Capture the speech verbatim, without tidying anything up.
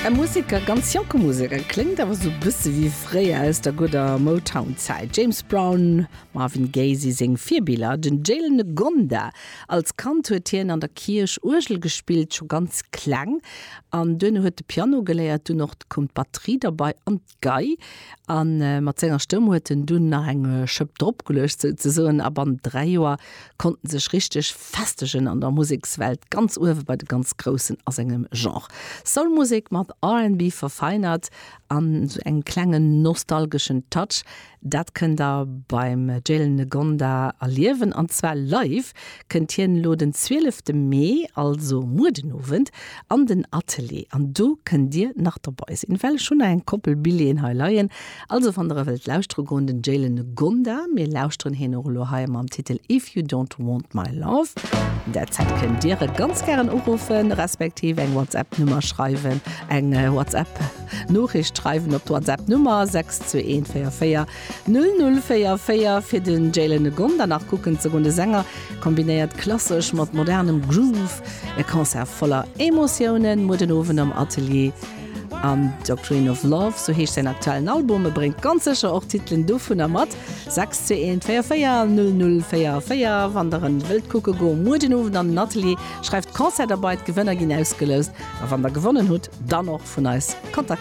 E Museker, ganz jonke Museker, kléngt awer sou bësse wéi fréier aus der gudder Motown-Zäit. James Brown, Marvin Gaye si seng Virbiller, den Jalen Ngonda. Als Kand huet hien an der Kierch Uergel gespillt, scho ganz kleng. An duerno huet de Piano geléiert, dunn och koum d'Batterie derbäi an d'Gei. An mat senger Stëmm huet en dunn nach eng Schëpp dropgeluecht souzesoen a bannent dräi Joer konnt en sech richteg festegen an der Musekswelt, ganz uewe bei de ganz Groussen a sengem Genre. Soul-Musek mat R and B verfeinert an sou engem klengen nostalgeschen Touch, dat kënnt der beim Jalen Ngonda erliewen an zwar live kënnt hien elo den zwielefte Mee, also muer den Owend, an den Atelier an do kënnt dir nach derbei sinn, well ech hunn nach eng Koppel Billjeeën hei leien. Also wann der e wëllt lauschtere goen, den Jalen Ngonda, mir lauschteren hien och elo hei mam Titel If You Don't Want My Love. An der Zäit kënnt dir e ganz gären uruffen, respektiv eng WhatsApp-Nummer schreiwen, eng WhatsApp-Noriicht schreiwen op d'WhatsApp-Nummer sechs zwee eent véier véier null null véier véier fir den Jalen Ngonda nach kucken ze goen. De Sänger kombinéiert klassesch mat modernem Groove, e Concert voller Emotiounen muer den Owend am Atelier. An Doctrine of Love, sou heescht säin aktuellen Album, e bréngt ganz sécher och Titelen dovunner mat. Sechs zwee eent véier véier null null véier véier wann der en wëllt kucke goen muer den Owend an den Atelier, schreift Concert derbei, d'Gewënner ginn ausgeloust a wann der gewonnen hutt, dann och vun eis kontaktéiert.